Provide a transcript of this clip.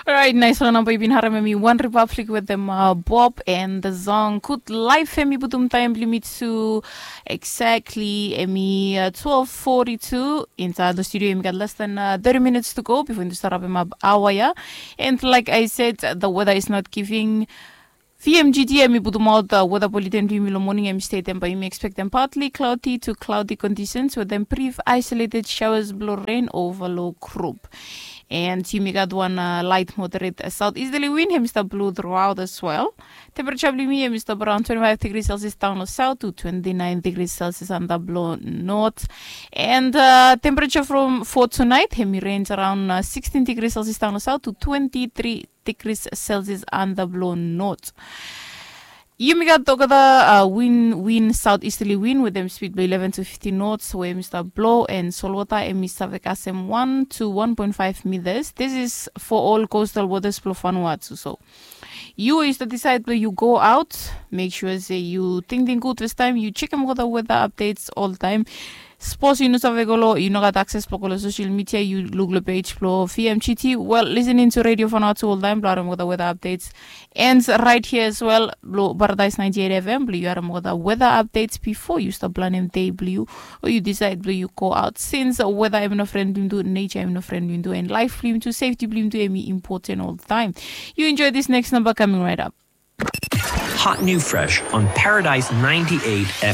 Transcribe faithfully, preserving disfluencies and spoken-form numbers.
Orait, naisfala namba yu bin harem, em i One Republic wetem Bob and the song Good Life. Em i putum taem blong yumi tu exactly, em i twelve forty-two. Insaed long studio yumi gat less than thirty minutes to go bifo yumi stap rapem ap aoa ya. And like I said, the weather is not giving. V M G T em i putumaot weather bulletin blong yumi long moning. Em i statem bae yumi expectem partly cloudy to cloudy conditions wetem brief isolated showers blong rain over long group. And yumi gat wan light moderate southeasterly wind, em i stap blow throughout as well. Temperature blong yumi em i stap around twenty-five degrees Celsius daon long south to twenty-nine degrees Celsius antap long north. And temperature from for tonight, em i range around sixteen degrees Celsius daon long south to twenty-three degrees Celsius antap long north. Yumi gat olgeta wind, wind southeasterly wind wetem speed blong eleven to fifteen knots we em i stap blow, and solwota em i save kasem one to one point five meters. This is for all coastal waters blong Vanuatu. So yu we yu stap disaed blong yu go aot, mek sua se yu tingting gud fastaem, yu jekem olgeta weather updates oltaem. Sapos yu no save go long, yu no gat akses blong go long social media, yu luk long page blong V M G T, well, listening to Radio Vanuatu oltaem blong harem olgeta weather updates. And right here as well, blong Paradise ninety-eight F M, blong yu harem olgeta weather updates bifo yu stap planem dei blong yu o yu disaed blong yu go aot. Since weather em i no fren blong yumi tu, nature em i no fren blong yumi tu, and life blong yumi tu, safety blong yumi tu, em i important oltaem. You enjoy this next number coming right up. Hot new fresh on Paradise ninety-eight F M.